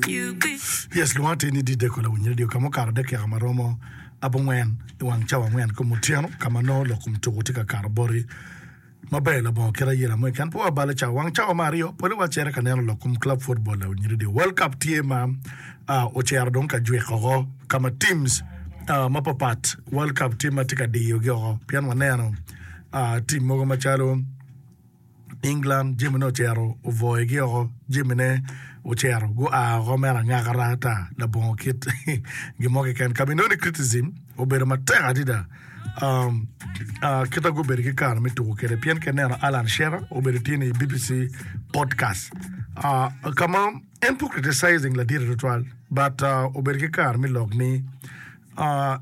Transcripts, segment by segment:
Yes, lwonga tye ni Dideko lawiny radio ka ma okato dakika ma romo abongwen i wang cawa angwen kom otyeno ka ma nongo lok kom tuku tye ka kato boti maber labongo kit ayela mo keken. Pe wabalo cawa wang cawa me aryo pole wacito ka neno lok kom club football lawiny radio World Cup tye ma ocito dong ka jwik oko ka ma teams mapapat World Cup tye ma tye ka diyogi oko pien waneno team mogo macalo England jamine ocito obwoyogi oko, jamine ocito gua oko mere angaka raa ata labongo kit gin mo keken. Ka ma inongo ni criticism obedo matek adada kit ma gubedo ki kare me tuko kwede pien ka ineno Alan Shearer obedo tye ni i BBC podcast ka ma en pe ocriticizing ladite tutwal but obedo ki kare me lok ni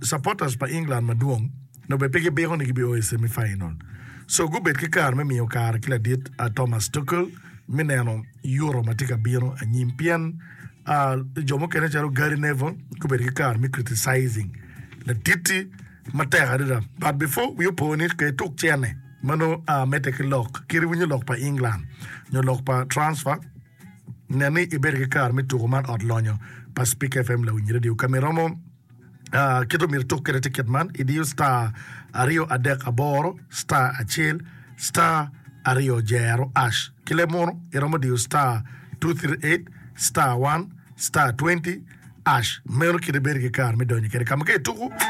Supporters pa England madwong nongo bene pe gibiko ni gibio i semi final. So gubed ki kare me miyo kare ki ladit Thomas Tuchel me neno Euro ma tye ka bino anyim pien jo mukene calo Gary Neville gubedo ki kare me criticizing ladit-ti matek adada. But before wi opo ni ka ituk cene ma nongo medde ki lok kit iwinyo lok pa England nyo lok pa transfer Nen ni ibedo ki kare me tuko man ot lonyo pa Spik FM Lawiny Radio ka ma iromo kit omyero ituk kwede tye kit man, idiyo star 238 star acel star aryo jero ash ki leb munu iromo diyo star 238 star 1 star 20 ash meno kit ibedo ki kare me donyo kwede ka ma ka ituko.